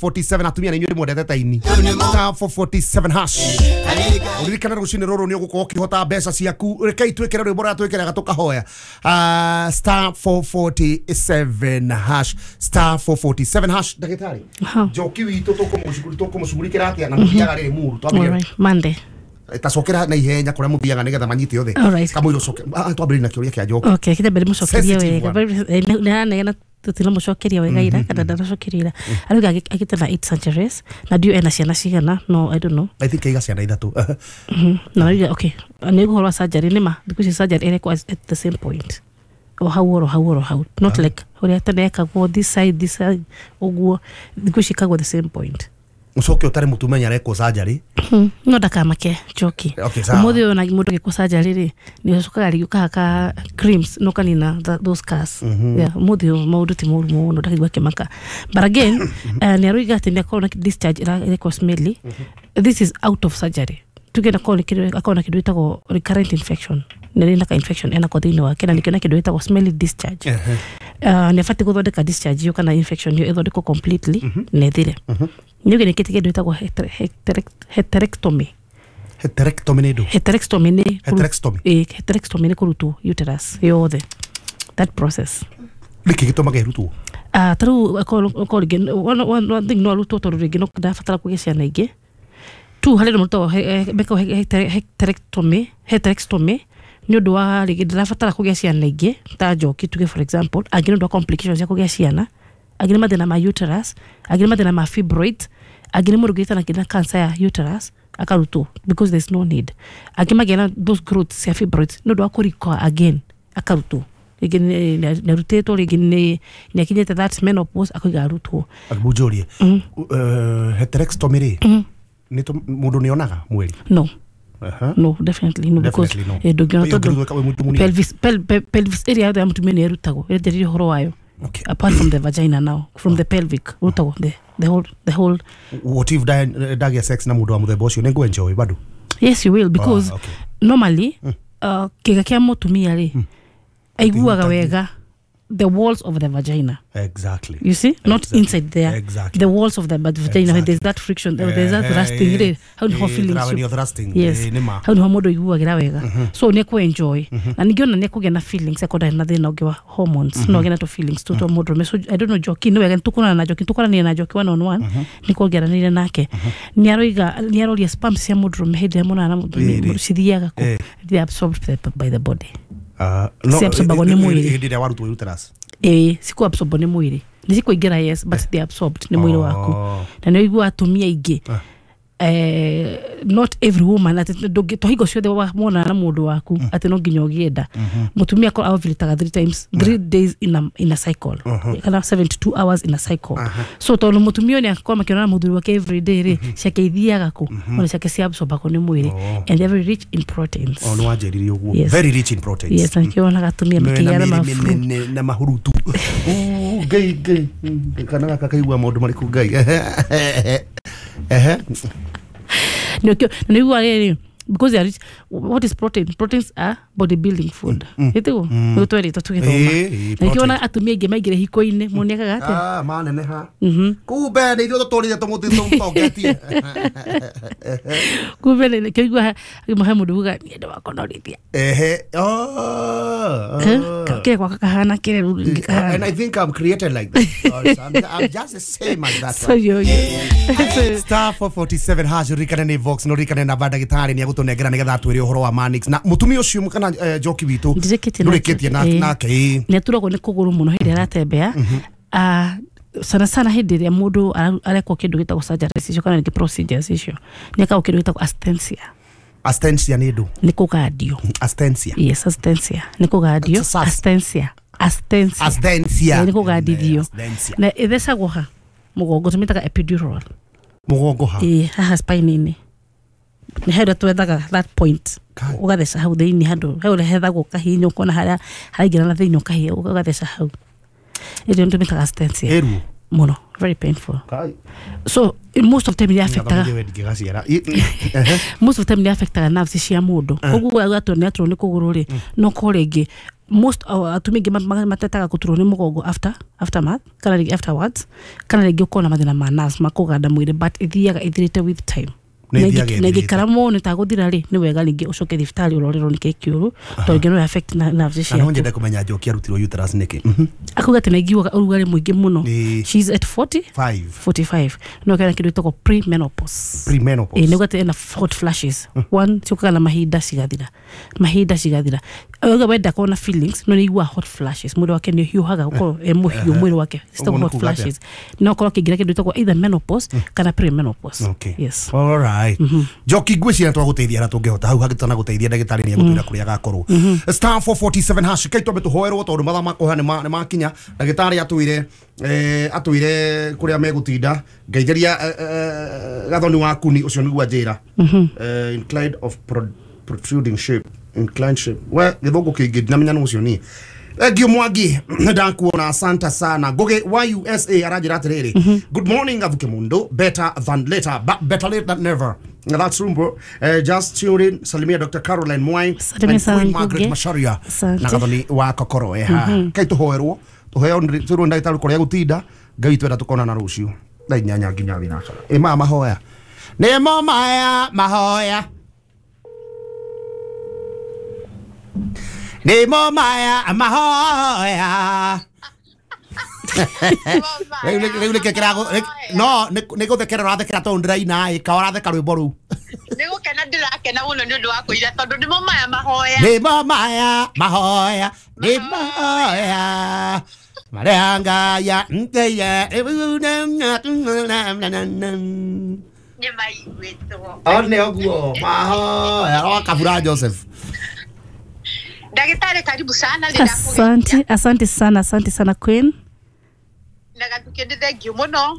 47 atumia na inyuĩ mwendete ta ini star 447 hash. Uririkana rũcinĩ rũrũ nĩ ũgũkorwo ũkĩhota mbeca ciaku. Rekei twĩkĩre rwĩmbo rũrĩa twĩkĩraga tũkahoya. Star 447 hash, star 447 hash. Ndagĩtarĩ Njoki witũ tũkũmũcugurikĩra atĩa na mũthiaga rĩrĩ muru twambĩrĩrie Monday. Tacokera na ihenya kuria muthiaga nigetha manyite othe kamũira ucoke twambĩrĩrie na kĩũria kĩa Njoki. Okay, kĩrĩa mbere mũcokerie wega nĩaranegena tũtinamucokeria wega ira kana ndanacokeria ira arauga agĩte na 8 centuries na ndiũ ena ciana cigana, no I don't know. I think aiga ciana ithatũ. Na arauga okay nĩ ũhoro wa surgery nĩ ma thikũ ici surgery ĩrekwo at the same point o hau oro hau oro hau, not like ũrĩa tene ekagwo this side this side ũguo, thikũ ici ĩkagwo the same point. Ucoke utari mutumenya arekwo surgery no ndakamake Njoki. Umuthi uyu na mundu agikwo surgery ri ni ucokaga rĩngĩ ũkahaka creams no kanina those scars. Yeah, umuthi uyu maundu ti moru muno ndakaigua akĩmaka, but again nĩ aroiga atĩ nĩ akorwo na discharge ĩrekwo smelly. This is out of surgery. Tuge na akorwo na kĩndũ gĩtagwo recurrent infection, nĩ rĩ na ka infection enako thĩinĩ wake na nĩkĩo na kĩndũ gĩtagwo smelly discharge. Nĩ abatiĩ gũthondeka discharge ĩyo kana infection ĩyo ĩthondekwo completely na ĩthire. Nĩ ũgĩ nĩkĩte kĩndũ gĩtagwo heterectomy. Heterectomy nĩ ndũ? Heterectomy nĩ heterectomy. Heterectomy nĩ kũrutwo uterus yothe, that process. Nĩkĩ gĩtũmaga ĩrutwo? Ta rĩu akorwo rĩngĩ one thing no arutwo tondũ rĩngĩ no ndabatara kũgĩa ciana ingĩ. Two, harĩ andũ marutagwo mekagwo heterectomy nĩ ũndũ wa rĩngĩ ndarabatara kũgĩa ciana ingĩ ta Njoki tuge for example, angĩ nĩ ũndũ wa complications cia kũgĩa ciana, angĩ nĩ mathĩna ma uterus, angĩ nĩ mathĩna ma fibroids, angĩ nĩ mũndũ ũngĩte na kĩna cancer ya uterus akarutwo because there's no need. Angĩ magĩa na those growths cia fibroids nĩ ũndũ wa kũrecur again akarutwo, rĩngĩ nĩ arutĩtwo, rĩngĩ nĩ akinyĩte that menopause akoiga arutwo. Mũnjũrie heterectomy rĩ nĩ mũndũ nĩ onaga mweri? No. No, definitely no, because pelvis area ya mutumia nĩ ĩrutagwo ĩrĩa ũhoro wayo. Apart from the vagina now, from the pelvic rutagwo the whole. What if ndagĩa sex na mũndũ wa mũthemba ũcio nĩ ngũ-enjoy bado? Yes you will, because normally kĩga kĩa mũtumia rĩ aiguaga wega the walls of the vagina. Exactly. You see? Not exactly. Inside there. Exactly. The walls of the vagina, when there's that friction, there's that thrusting. How do you feel? Thrusting. Yes. How do you mũndũ aiguagĩra wega. So nĩ kũ enjoy. Na ningĩ ona nĩ kũgĩa na feelings akorwo na thĩna ũngĩ wa hormones. No agĩe na tũ feelings tũ twa mũndũrũme. So I don't know Njoki, nĩ wega nĩtũkũrana na Njoki, tũkũranire na Njoki one on one. Nĩ kuongeranire nake. Nĩ aroiga nĩ aroria sperms cia mũndũrũme hĩndĩ ĩrĩa monana na mũtumia cithiaga kũ? They are absorbed by the body. No, absorbagwo nĩ mwĩrĩ. Hĩndĩ ĩrĩa warutwo uterus. Cikũ absorbwo nĩ mwĩrĩ. Nĩ cikũingĩra yes, but they absorbed nĩ mwĩrĩ waku. Na nĩ ũiguaga atumia aingĩ not every woman atĩ to hingo ciothe wonana na mũndũ waku atĩ no nginya ũgĩenda. Mũtumia akorwo ovulataga 3 times 3 days in a cycle kana 72 hours in a cycle. So tondũ mũtumia ũyũ nĩ akorwo makĩonana na mũthuri wake every day rĩ, ciake ithiaga kũ? Ona ciake ciabsorbagwo nĩ mwĩrĩ and they're very rich in proteins. Oh, nĩ wanjĩrire ũguo. Very rich in proteins. Yes, na nĩkĩo wonaga atumia makĩgĩa na mafru na mahurutu. Ngai ngai kana gaka kaigua maũndũ marĩkũ Ngai. Nĩguo rĩrĩ because they are rich. What is protein? Proteins are bodybuilding food. Ĩtiguo nĩ twerĩtwo tũgĩthoma. Na nĩkĩo wona atumia aingĩ maingĩre hiko-inĩ monekaga atĩa? Maneneha. Kumbe nĩ ithuĩ tũtũrire tũmũtongetie. Kumbe nĩkĩo igua he mũndũ uga niĩ ndĩwakonorithia. Kĩrĩa gwaka kahana kĩrĩa rĩu rĩngĩ kahana. And I think I'm created like that. I'm just the same as that. So yo Star 447 hash ririkane nĩ Vox no ririkane namba ndagĩtarĩ nĩ agũtũnengera nĩgetha atwĩre ũhoro wa Manix na mũtumia ũcio kana Njoki witũ ndũrĩkĩtie nake. Nĩ aturagwo nĩ kũgũrũ mũno hĩndĩ aratembea. Sana sana hĩndĩ ĩrĩa mũndũ arekwo kĩndũ gĩtagwo surgery icio kana rĩngĩ procedures icio nĩ ekagwo kĩndũ gĩtagwo astensia. Astensia nĩ ndũ? Nĩ kũgandio. Astensia. Yes, astensia nĩ kũgandio. Astensia. Astensia. Astensia nĩ kũgandithio. Na ĩthecagwo ha mũgongo, tũmĩtaga epidural. Mũgongo ha? Haha spine-inĩ. Nĩ harĩa twethaga that point ũgatheca hau thĩinĩ handũ hau hethagwo kahinya ũkona harĩa haraingĩra na thĩinĩ ũkahinya ũgatheca hau. Ĩrĩa nĩ tũmĩtaga astensia. Mũno, very painful. So most of the time nĩ affectaga most of the time nĩ affectaga nerves cia mũndũ. Koguo agatwo nĩ aturwo nĩ kũgũrũ rĩ, no ko rĩngĩ Most atumia aingĩ matetaga gũturwo nĩ mũgongo after aftermath kana rĩngĩ afterwards, kana rĩngĩ ũkorwo na mathĩna ma nerves makũganda mwĩrĩ, but ĩthiaga ĩthirĩte with time. Nĩ ĩthiaga Na ĩthirĩte. ĩngĩikara mũno ĩtagũthira rĩ, nĩ wega rĩngĩ ũcoke thibitarĩ ũrorerwo nĩkĩ kĩũru, tondũ rĩngĩ no affect nerves Na no ciaku. nyende kũmenya Njoki arutirwo uterus nĩkĩ. Akauga atĩ naiguaga ũrugarĩ mũingĩ mũno. Ĩĩ. She's at 40 5. 45, no kena kĩndũ gĩtagwo pre-menopause. Premenopause. Ĩĩ, nĩguo atĩ ena hot flashes one ciũkaga na mahinda cigathira, mahinda cigathira. Auga we ndakorwo na feelings, no nĩaiguaga hot flashes, mwĩrĩ wake nĩ ũhiũhaga, gũkorwo e mũhiũ mwĩrĩ wake. Ũguo Citagwo nĩ hot kuuga atĩa? flashes, no korwo akĩingĩra kĩndũ gĩtagwo either menopause kana pre-menopause. Okay. Yes. All right. Njoki, ngwĩciria twagũteithia na tũngĩhota hau hangĩtana gũteithia ndagĩtarĩ nĩ egũtwĩra kũrĩa agakorwo. *447# kai twambe tũhoerwo tondũ mathaa ma kũhoya nĩ makinya. Ndagĩtarĩ atwĩre atwĩre kũrĩa megũtinda ngeithĩria gathoni waku ni ũcio nĩguo anjĩra. Inclined of protruding shape, inclined shape, we gĩthũngũ kĩingĩ ndinamenya nũ ũcio niĩ. Thank Mwangi, ndakuona, asante sana. Ngugi wa USA aranjĩra atĩrĩrĩ, "Good morning, Athuke Mundu, better than later, but better late than never." Now that's true, bro. Just tune in. Salimia Dr. Caroline Mwai Salimia and sana Queen Margaret Ngugi. Macharia Asante. na gathoni wa kokoro eha kai tuhoerwo tuheo twirwo ndagĩtarĩ kũrĩa gũtinda. Ngai twenda tukonana rũciũ thaa 8 nginya thinacara. Ĩ maya mahoya nĩmo maya mahoya nĩmo maya mahoya. Rĩu nĩkĩ kĩragũ no nĩ gũthekera ũrathekera tondũ ndĩraina ĩ ka ũratheka rwĩmbo rũu. Nĩ gũkena ndĩrakena mũno nĩ ũndũ wa kũira tondũ nĩmo maya mahoya. Nĩmo maya mahoya, nĩ mahoya marĩa ngaya ngeia. Nĩ maiguĩtwo. One ũguo mahoya wa Kabura Joseph. Ndagĩtarĩ, karibu sana, nĩ Asante, asante sana, asante sana, Queen. Na Gathuke, nĩ thengiũ mũno.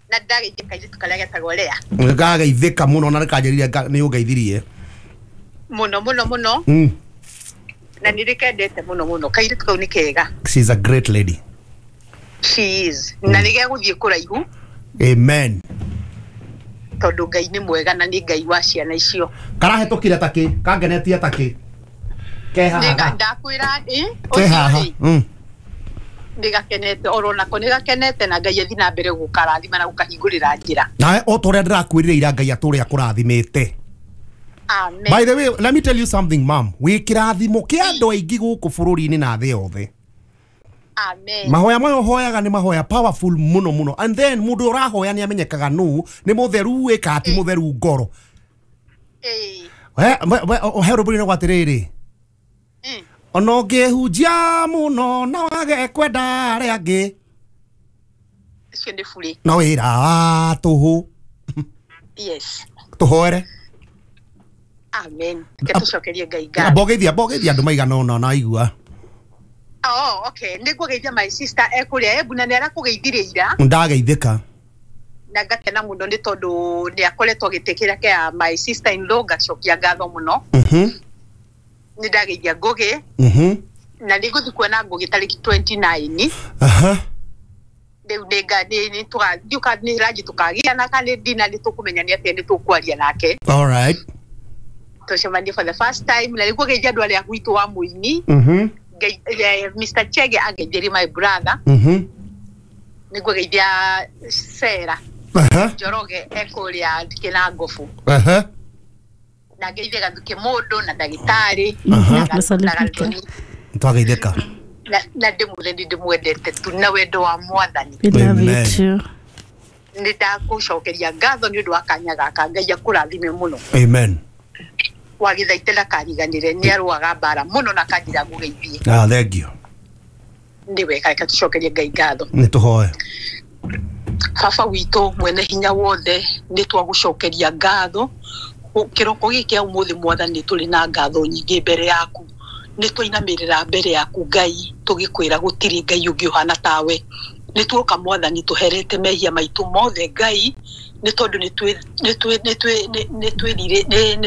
Na ndageithia kairĩtu karĩa getagwo Lea. Ngageithĩka mũno na nĩkanjĩrire nĩ ũngeithirie. Mũno mũno mũno. Na nĩ ndĩkendete mũno mũno, kairĩtu kau nĩ kega. She's a great lady. She is, na nĩ gegũthiĩ kũraihu. Amen. Tondũ Ngai nĩ mwega na nĩ Ngai wa ciana icio. Karahetũkire takĩ kangenetie takĩ ke haha. Ndakwĩra ĩ ke haha. Ũcio rĩ, nĩ gakenete oro nako, nĩ gakenete, na Ngai athiĩ na mbere gũkarathima na gũkahingũrĩra njĩra. Nawe o ta ũrĩa ndĩrakwĩrire ira, Ngai atũrĩa akũrathimĩte. Amen. By the way, let me tell you something, ma'am. Wĩ kĩrathimo kĩa andũ aingĩ gũkũ bũrũri-inĩ na thĩ yothe. Amen. Mahoya maya ũhoyaga nĩ mahoya powerful mũno mũno. And then mũndũ ũrahoya nĩ amenyekaga nũ nĩ mũtheru ĩ kana ti mũtheru ngoro. Ĩĩ. He rwĩmbo-inĩ rwa atĩrĩrĩ, ona ũngĩhunjia mũno na wage kwenda arĩa angĩ, Ũcio nĩ burĩ. no wĩra wa tũhũ. Yes. Tũhoere. Amen. Reke tũcokerie Ngai ngatho. Mbogeithia andũ maigana ũna na aigua. Oh, okay, nĩ ngũgeithia my sister ekũrĩa Embu na nĩ arakũgeithirie ira. Ndageithĩka. Na ngakena mũno nĩ tondũ nĩ akoretwo agĩtĩkĩra kea my sister in law, ngacokia ngatho mũno. Nĩ ndageithia Ngũgĩ. Na nĩ ngũthiĩ kuona Ngũgĩ tarĩki 29. Rĩu nĩ tũgathiũka nĩ ranji tũkagĩa kana nĩ ndina nĩ tũkũmenya nĩ atĩa nĩ tũkwaria nake. All right. Tũcemanie for the first time, na nĩ ngũgeithia andũ arĩa gwitũ wa mũini. Mr. Chege angeithĩrie my brother. Nĩ ngũgeithia Sarah Njoroge ekũrĩa Kĩnangobu. Na ngeithie Gathuke mũndũ na ndagĩtarĩ na Gathoni. Twageithĩka. Na ndĩmwĩre nĩ ndĩmwendete tu na wendo wa Mwathani. We love you Amen. too. Nĩ ndakũcokeria ngatho nĩ ũndũ wa kanya gaka, Ngai akũrathime mũno. Amen. Wagĩthaite ndakariganĩre, nĩ arũaga mbara mũno na kanjĩra ngũgeithie. Ah, thank you. Nĩ wega, reke tũcokerie Ngai ngatho. Nĩ tũhoe. Baba witũ mwene hinya wothe, nĩ twagũcokeria ngatho kĩroko gĩkĩ kĩa ũmũthĩ. Mwathani, tũrĩ na ngatho nyingĩ mbere yaku, nĩ twainamĩrĩra mbere yaku Ngai, tũgĩkwĩra gũtirĩ Ngai ũngĩ ũhana tawe. Nĩ tuoka, Mwathani, tũherete mehia maitũ mothe, Ngai, nĩ tondũ nĩ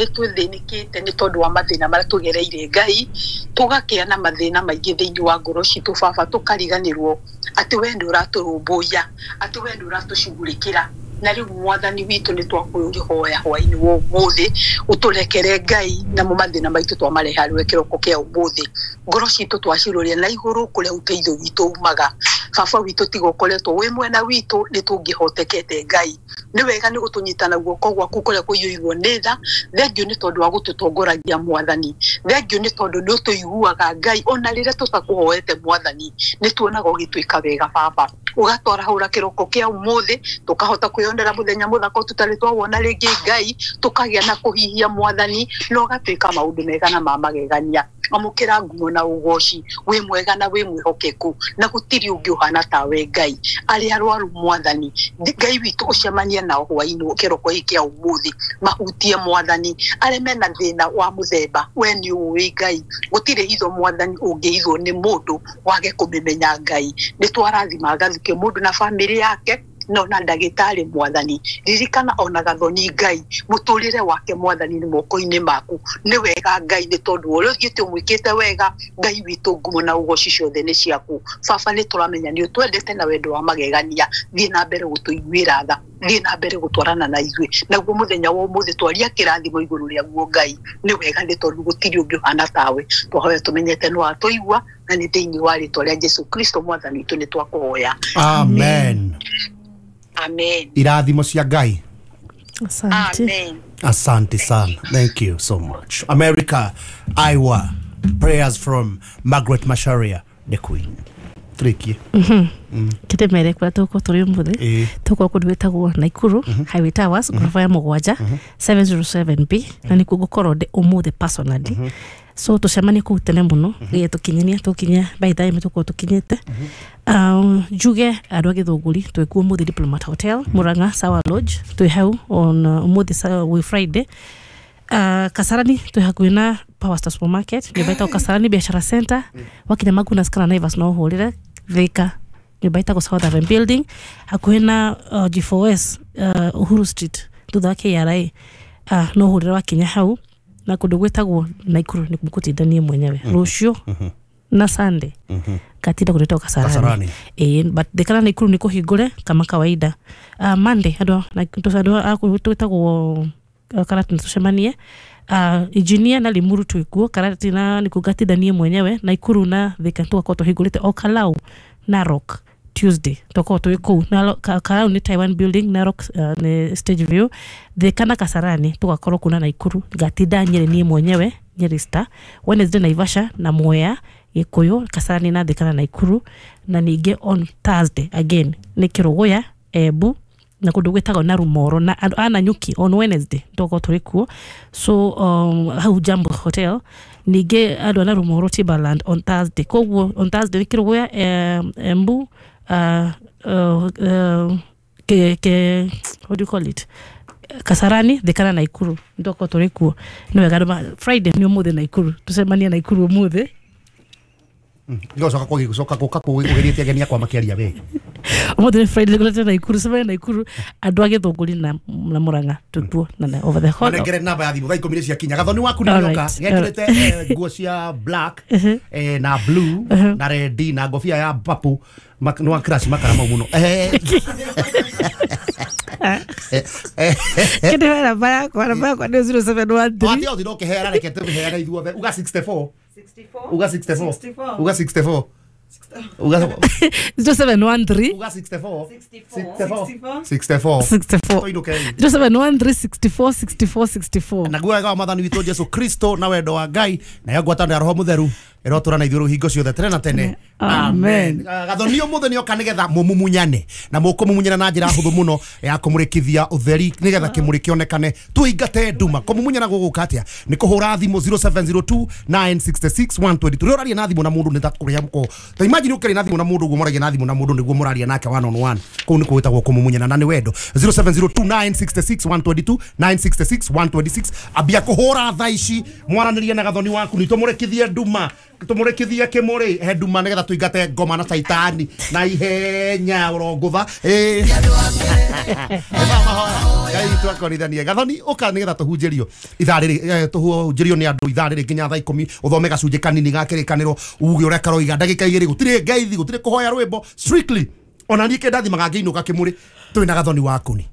twĩthĩnĩkĩte nĩ tondũ wa mathĩna marĩa tũgereire, Ngai, tũgakĩa na mathĩna maingĩ thĩinĩ wa ngoro citũ. Baba, tũkariganĩrwo atĩ we nĩ ũratũrũmbũiya, atĩ we nĩ ũratũcugurĩkĩra. Na rĩu mwathani witũ nĩ twakũhoya hwainĩ wa ũmũthĩ ũtũrekere Ngai namo mathĩna maitũ twamarehe harĩwe kĩroko kĩa ũmũthĩ. Ngoro citũ twaciroria na igũrũ kũrĩa ũteithio witũ umaga. Baba witũ tiga ũkoretwo wĩ mwena witũ nĩ tũngĩhotekete Ngai. Nĩ wega nĩ gũtũnyita na guoko gwaku kũrĩa kũiyũirwo nĩ tha. Thengiũ nĩ tondũ wa gũtũtongoragia mwathani. Thengiũ nĩ tondũ nĩ ũtũiguaga Ngai ona rĩrĩa tũtakũhoete mwathani. Nĩ tuonaga ũgĩtwĩka wega baba. Ũgatwarahũra kĩroko kĩa ũmũthĩ tũkahota kwĩyonera mũthenya mũthaka tũtarĩ twawona rĩngĩ Ngai, tũkagĩa na kũhihia mwathani na ũgatwĩka maũndũ mega na ma magegania. Amũkĩra ngumo na ũgoci, wĩ mwega na wĩ mwĩhokeku na gũtirĩ ũngĩ ũhana tawe Ngai. Arĩa arwaru mwathani, Ngai witũ ũcemanie nao hwainĩ kĩroko gĩkĩ kĩa ũmũthĩ, mahutie mwathani. Arĩa mena thĩna wa mũthemba, we nĩ ũĩ Ngai, gũtirĩ hitho mwathani ũngĩhithwo nĩ mũndũ wage kũmĩmenya Ngai. Nĩ twarathima Gathuke mũndũ na bamĩrĩ yake no na ndagĩtarĩ mwathani. Ririkana ona Gathoni Ngai, mũtũrĩre wake mwathani nĩ moko-inĩ maku. Nĩ wega Ngai nĩ tondũ ũrĩa ũthiĩte ũmwĩkĩte wega Ngai witũ, ngumo na ũgoci ciothe nĩ ciaku. Baba nĩ tũramenya nĩ ũtwendete na wendo wa magegania. Thiĩ na mbere gũtũiguĩra tha, thiĩ na mbere gũtwarana na ithuĩ, naguo mũthenya wa ũmũthĩ twaria kĩrathimo igũrũ rĩaguo Ngai. Nĩ wega nĩ tondũ gũtirĩ ũngĩ ũhana tawe. Twahoya tũmenyete nĩ watũigua na nĩ thĩinĩ wa rĩtwa rĩa Jesu Kristo mwathani witũ nĩ twakũhoya. Amen. Amen. Irathimo cia Ngai. Asante. Amen. Asante sana. Thank you so much. America, Iowa. Prayers from Margaret Macharia, the Queen. Tricky. Kĩndĩmere kũrĩa tũgũkorwo tũrĩ ũmũthĩ, tũgũkorwo kũndũ gwĩtagwo Naikuru Highway Towers, ngoroba ya mũgwanja 707B, na nĩkuo ngũkorwo ndĩ ũmũthĩ personally. So tũcemanie kũu tene mũno nĩgetha tũkinyania tũkinya by time tũkorwo tũkinyĩte. Njuge andũ a Gĩthũngũri twĩ kuo ũmũthĩ Diplomat Hotel Murang'a Sawa Lodge, twĩ hau on ũmũthĩ wĩ Friday. Kasarani twĩ hakuhĩ na Power Star Supermarket, nyũmba ĩtagwo Kasarani Biashara Center. Wakinya Magunas kana Naivas no ũhũrĩre. Thika nyũmba ĩtagwo South Haven Building hakuhĩ na G4S Uhuru Street thutha wa KRA, no ũhũrĩre wakinya hau. Na kũndũ gwĩtagwo Naikuru nĩ ngũtinda niĩ mwenyewe rũciũ na Sunday ngatinda kũndũ gwĩtagwo Kasarani. But Thika na Naikuru nĩ kũhingũre kama kawaida. Monday andũ a twĩtagwo Karatina tũcemanie. Engineer na Limuru twĩkuo Karatina nĩkuo ngatinda niĩ mwenyewe. Naikuru na Thika tũgakorwo tũhingũrĩte o Kalau Narok Tuesday tũgakorwo twĩ kũu. Kalau nĩ Taiwan Building, Narok nĩ Stage View. Thika na Kasarani tũgakorwo kũu na Naikuru ngatinda Nyeri niĩ mwenyewe, Nyeri Star. Wednesday Naivasha na Mwea, Gĩkũyũ, Kasarani na Thika na Naikuru. Na ningĩ on Thursday again nĩ Kĩrũgũya, Embu na kũndũ gwĩtagwo Narumoro na andũ a Nanyuki on Wednesday tũgakorwo tũrĩ kuo. So hau Jambo Hotel. Ningĩ andũ a Narumoro Timberland on Thursday. Koguo on Thursday nĩ Kĩrũgũya, Embu, what do you call it, Kasarani, Thika na Naikuru tũgakorwo tũrĩ kuo. Nĩ wega Friday nĩ ũmũthĩ Naikuru, tũcemanie Naikuru ũmũthĩ. Ngocoka gũcoka gũka kũgeria ageni akwa makĩaria we. Ũmũthĩ nĩ Friday ngorete Naikuru, cemania Naikuru andũ a Gĩthũngũri na Murang'a twĩkuo na over the hall. Manengere namba ya thimũ thaa 10 nĩ ciakinya. Gathoni waku nĩ nyoka gekĩrĩte nguo cia black na blue na red na ngobia ya purple, nĩ wa crash makara mau mũno. Kĩndĩ namba yakwa, namba yakwa nĩ 0713. Atĩ othe no kĩheana, reke tũheane ithuothe. Uga 64. Uga 64. Uga 64. Uga 0713. Uga 64. 64. 64. 64. 0713 64 64 64. Naguo wega wa mwathani witũ Jesu Kristo na wendo wa Ngai na yo ngwatanĩro ya Roho Mũtheru ĩrotũra na ithuĩ hingo ciothe tene na tene. Amen. Gathoni ũmũthĩ nĩoka nĩgetha mũmumunyane na mũkũmumunyana na njĩra hũthũ mũno ya kũmũrĩkithia ũtheri nĩgetha kĩmũrĩ kĩonekane tũingate nduma. Kũmumunyana gũgũka atĩa? Nĩ kũhũra thimũ 0702 966 123. Ũraria na thimũ na mũndũ nĩ ta kũrĩa mũko. Ta imagine ũkĩaria na thimũ na mũndũ ũguo mũraria na thimũ na mũndũ nĩguo mũraria nake one on one. Kũu nĩkuo gwĩtagwo kũmumunyana na nĩ wendo. 0702 966 122 966 126. Ambia kũhũra thaa ici mwaranĩrie na Gathoni waku nĩ tũmũrĩkithie nduma, tũmũrĩkithie kĩmũrĩ he nduma nĩgetha tũingate ngoma na caitani na ihenya ũrongũtha. Ngai twakorithanie. Gathoni ũka nĩgetha tũhunjĩrio ithaa rĩrĩ, tũhunjĩrio nĩ andũ ithaa rĩrĩ nginya thaa 10 ũthome gacunjĩ kanini ga kĩrĩkanĩro uge ũrĩa karoiga ndagĩka 2 gũtirĩ ngeithi gũtirĩ kũhoya rwĩmbo strictly ona niĩ kĩndathimaga ngĩinũka kĩmũrĩ twĩna Gathoni waku ni.